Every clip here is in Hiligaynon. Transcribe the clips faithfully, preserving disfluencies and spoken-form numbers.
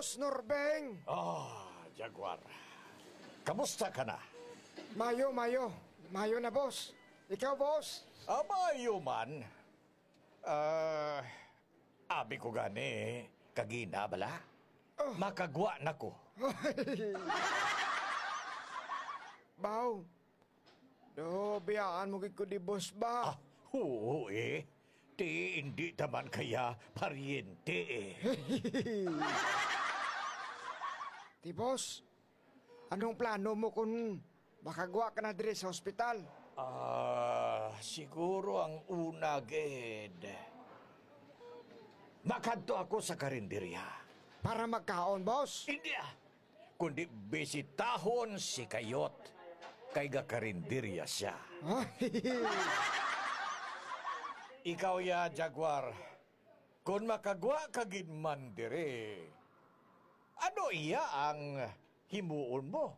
Boss Norbeng! Ah, Jaguar. Kamusta ka na? Mayo, mayo. Mayo na, boss. Ikaw, boss? Ah, mayo man. Ah, abi ko gani, kagina bala? Oh. Makagwa na ko. Baw, do, biyaan mo gid ko di, boss, ba? Ah, oo, eh. Ti, hindi naman kaya paryente, eh. Ti, boss, anong plano mo kung makagwa ka na diri sa ospital? Ah, siguro ang una gid, makadto ako sa karinderya. Para magkaon, boss? Hindi, ah. Kundi bisitahon si Kayot, kay gakarinderya siya. Ikaw ya, Jaguar, kon makagwa ka gid man diri, ano iya ang himuon mo?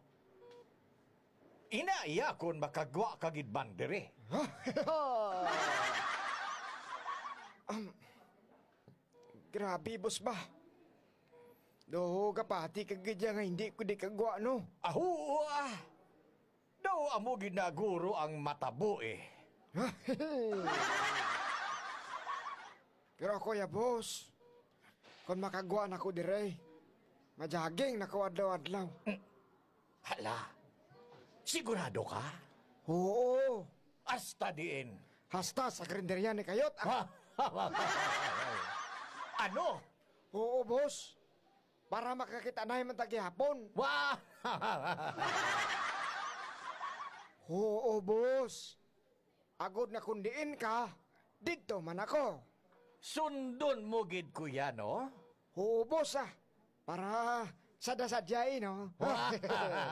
Ina iya kon makagwa ka gid man diri. Um, grabe, boss, ba? Do, kapati ka gid ya nga hindi ko di kagwa, no? Aho, ah. Daw amo gid na guro ang matabo, eh. Pero ako ya, boss, kon makagwa na ko dire, majaging na ko adlaw-adlaw. Hala, sigurado ka? Oo. Hasta diin? Hasta sa karinderya ni Kayot. Ah. Ano? Oo, boss. Para makakita na man ta gihapon. Wa- Oo, boss. Agod na kung diin ka, didto man ako. Sundon mo gid ko ya, no? Oo, boss, ah. Para sadya-sadya, eh, no?